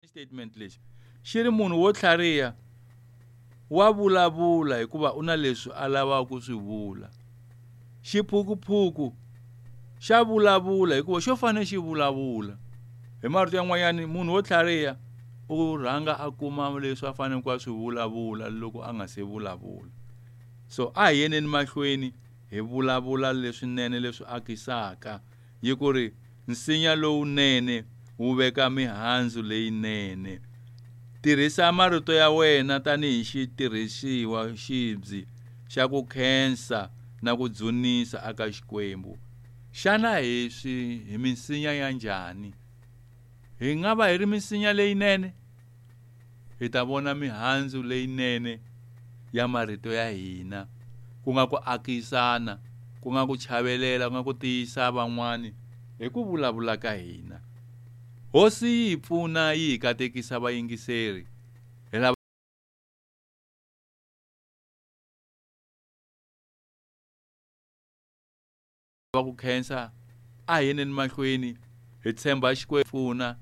Statement lexi xi ri munhu wo tlhariha wa vulavula hikuva u na leswi a lavaka ku swi vula. Xiphukuphuku xa vulavula hikuva xo fanele xi vulavula. Hi marito yan'wanyani munhu wo tlhariha u rhanga a kuma leswi a faneleke ku a swi vulavula loko a nga se vulavula. So a hi yeneni mahlweni hi vulavula leswinene leswi akisaka yi ku ri nsinya lowunene wu veka mihandzu leyinene. Tirhisa marito ya wena tanihi xitirhisiwa xibyi xa ku khensa na ku dzunisa aka Xikwembu. Xana hi swi hi minsinya ya njhani? Hi nga va hi ri minsinya leyinene? Hi ta vona mihandzu leyinene ya marito ya hina, ku nga ku akisana, ku nga ku chavelela, ku nga ku tiyisa van'wani hi ku vulavula ka hina. Hosi yi hi pfuna yi hi katekisa vayingiseri. Hi lava ku khensa a hi yeneni mahlweni hi tshemba Xikwembu pfuna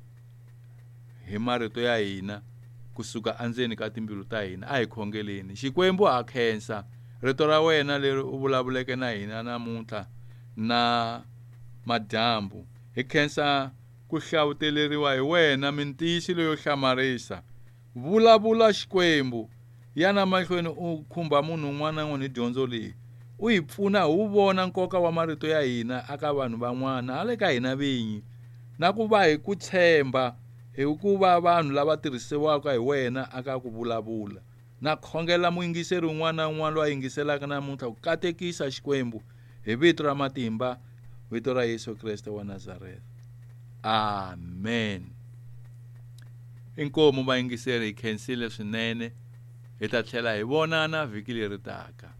hi marito ya hina kusuka endzeni ka timbilu ta hina. A hi khongeleni. Xikwembu ha khensa rito ra wena leri u vulavuleke na hina namuntlha na madyambu. Hi khensa ku hlawuteleriwa hi wena mintiyiso leyo hlamarisa. Vulavula Xikwembu, yana mahlweni u khumba munhu un'wana na un'wana hi dyondzo leyi. U hi pfuna hi wu vona nkoka wa marito ya hina aka vanhu van'wana hala ka hina vinyi, na ku va hi ku tshemba hi ku va vanhu lava tirhisiwaka hi wena aka ku vulavula. Na khongela muyingiseri un'wana na un'wana loyi a yingiselaka namuntlha ku katekisa Xikwembu hi vito ra matimba, vito ra Yesu Kreste wa Nazareth. Amen. Inkomu vayingiseri, hi khensile swinene. Hi ta tlhela hi vonana vhiki leri taka.